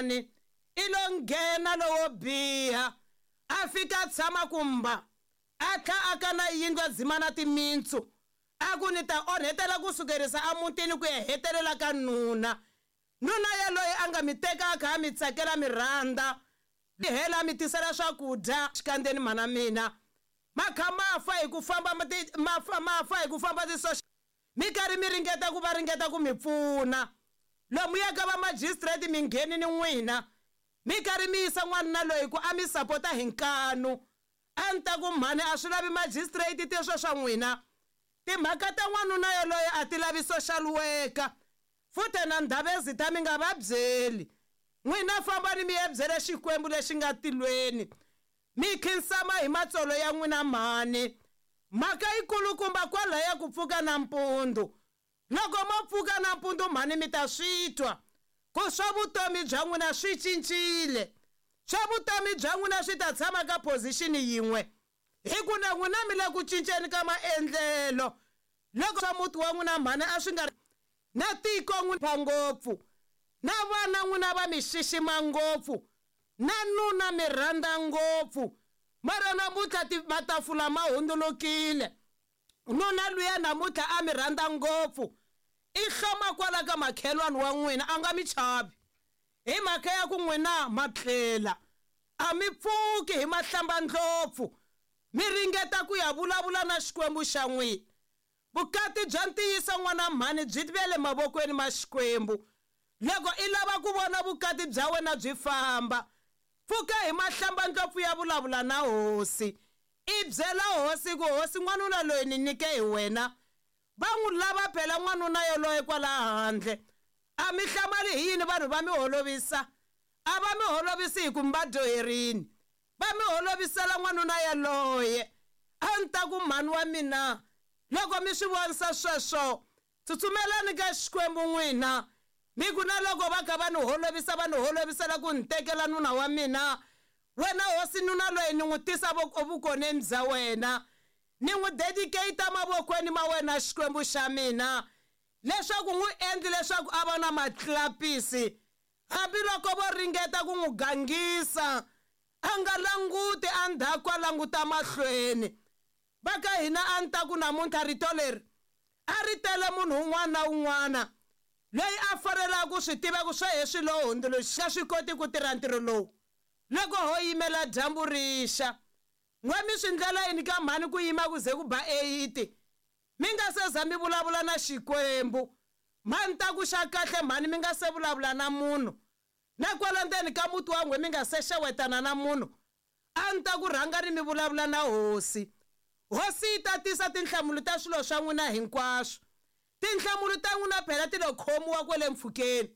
Ni i lo nghena lowo biha a fika a tshama kumba a tlha a ka na yindlu a dzima na timintsu a ku ni ta onhetela ku sukerisa emutini ku ya hetelela ka nuna. Nuna yaloye a nga mi teka a kha a mi tsakela mi rhandza mi hela mi tisela swakudya xikandzeni mhana mina ma kha ma fa hi ku famba ma fa ma fa hi ku famba ti mi karhi mi ringeta ku va ringeta ku mi pfuna lomu ya ka va magistrate mi ngheni ni n'wina mi karhi mi yisa n'wanuna loyi ku a mi sapota hi nkanu a ni ta ku mhani a swi lavi magistrate teswo swa n'wina timhaka ta n'wanuna yoloye a ti lavi social worker futhe na ndhavezita mi nga va byeli n'wina fambani mi ya byela xikwembu lexi nga tilweni mi khinsama hi matsolo ya n'wina mhani mhaka yikulukumba kwalaya ku pfuka nampundzu loko mo pfuka nampundzu mhani mi ta swi twa ku swa vutomi bya n'wina swi cincile swa vutomi bya n'wina swi ta tshama ka position yin'we hi ku na n'wina mi le ku cinceni ka maendlelo loko swa muti wa n'wina mhani a swi nga na tiko n'wina ngopfu na vana n'wina va mi xixima ngopfu na nuna mi rhandza ngopfu mara namuntlha matafula ma hundzulukile nuna luya namuntlha a mi rhandza ngopfu i hloma kwala ka makhelwani wa n'wina a nga mi chavi hi mhaka ya ku n'wina ma tlela a mi pfuki hi mahlambandlopfu mi ringeta ku ya vulavula na xikwembu xa n'wina vukati bya ntiyiso n'wana mhani byi ve le mavokweni ma xikwembu loko i lava ku vona vukati bya wena byi famba pfuka hi mahlambandlopfu ya vulavula na hosi i byela hosi ku hosi n'wanuna loyi ni nyike hi wena va n'wi lava phela n'wanuna yoloye kwala handle a mi hlamali hi yini vanhu va mi holovisa a va mi holovisi hi ku mi va dyoherini va mi holovisela n'wanuna yaloye a ni ta ku mhani wa mina loko mi swi vonisa sweswo tsutsumelani ka xikwembu n'wina mi ku na loko va kha va ni holovisa va ni holovisela ku ni tekela nuna wa mina wena hosi nuna loyi ni n'wi tisa vukoneni bya wena ni n'wi dedicate mavokweni ma wena xikwembu xa mina leswaku n'wi endli leswaku a va na matlapisi hambiloko vo ringeta ku n'wi gangisa a nga languti endzhaku a languta mahlweni va ka hina a ni ta ku namuntlha rito leri a ri tele munhu un'wana na un'wana loyi a fanelaka ku swi tiva ku swa heswi lowu hundzuluxa swi koti ku tirha ntirho lowu loko ho yimela dyambu rixa n'we mi swi ndlela yini ka mhani ku yima ku ze ku ba 8 mi nga se za mi vulavula na xikwembu mhani ta ku xa kahle mhani mi nga se vulavula na munhu na kwala ndzeni ka muti wa n'we mi nga se xewetana na munhu a ni ta ku rhangani mi vulavula na hosi hosi yi ta tisa tinhlamulo ta swilo swa n'wina hinkwaswo tinhlamulo ta n'wina phela ti lo khomiwa kwele mpfhukeni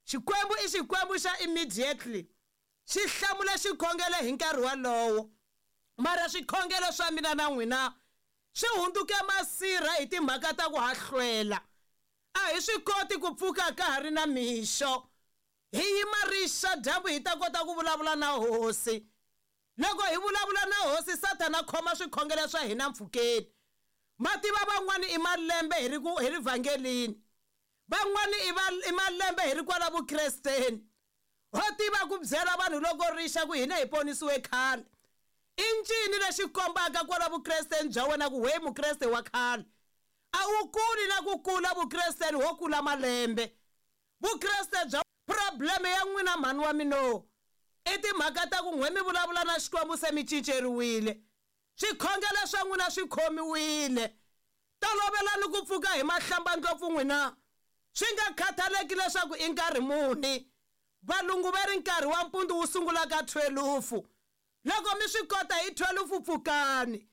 xikwembu i xikwembu xa immediately xi hlamula xikhongelo hi nkarhi walowo mara swikhongelo swa mina na n'wina swi hundzuke masirha hi timhaka ta ku hahlwela a hi swi koti ku pfuka ka ha ri na mixo hi yima rixa dyambu hi ta kota ku vulavula na hosi loko hi vulavula na hosi sathana khoma swikhongelo swa hina mpfhukeni mativa van'wani i malembe hi ri ku hi ri vhangelini van'wani i malembe hi ri kwala vukresteni ho tiva ku byela vanhu loko rixa ku hina hi ponisiwe khale i ncini lexi kombaka kwala vukresteni bya wena ku we mukreste wa khale a wu kuli na ku kula vukresteni ho kula malembe vukreste bya probleme ya n'wina mhani wa mino i timhaka ta ku n'we mi vulavula na xikwembu se mi cinceriwile swikhongelo swa n'wina swi khomiwile tolovelani ku pfuka hi mahlambandlopfu n'wina swi nga khathaleki leswaku i nkarhi muni valungu va ri nkarhi wa mpundzu wu sungula ka 12 loko mi swi kota hi 12 pfukani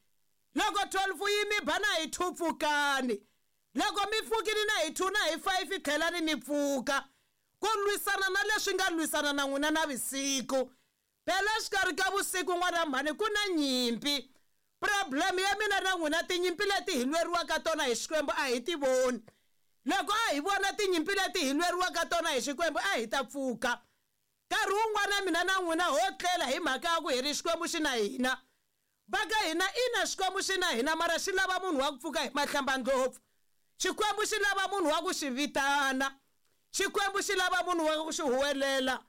loko 12 yi mi ba na hi 2 pfukani loko mi pfukile na hi 2 na hi 5 tlhelani mi pfuka ku lwisana na leswi nga lwisana na n'wina na vusiku phela xikarhi ka vusiku n'wana mhani ku na nyimpi problem ya mina na n'wina tinyimpi leti hi lweriwaka tona hi xikwembu a hi ti voni loko a hi vona tinyimpi leti hi lweriwaka tona hi xikwembu a hi ta pfuka nkarhi wun'wana mina na n'wina ho tlela hi mhaka ya ku hi ri xikwembu xi na hina va ka hina ina xikwembu xi na hina mara xi lava munhu wa ku pfuka hi mahlambandlopfu xikwembu xi lava munhu wa ku xi vitana xikwembu xi lava munhu wa ku xi huwelela.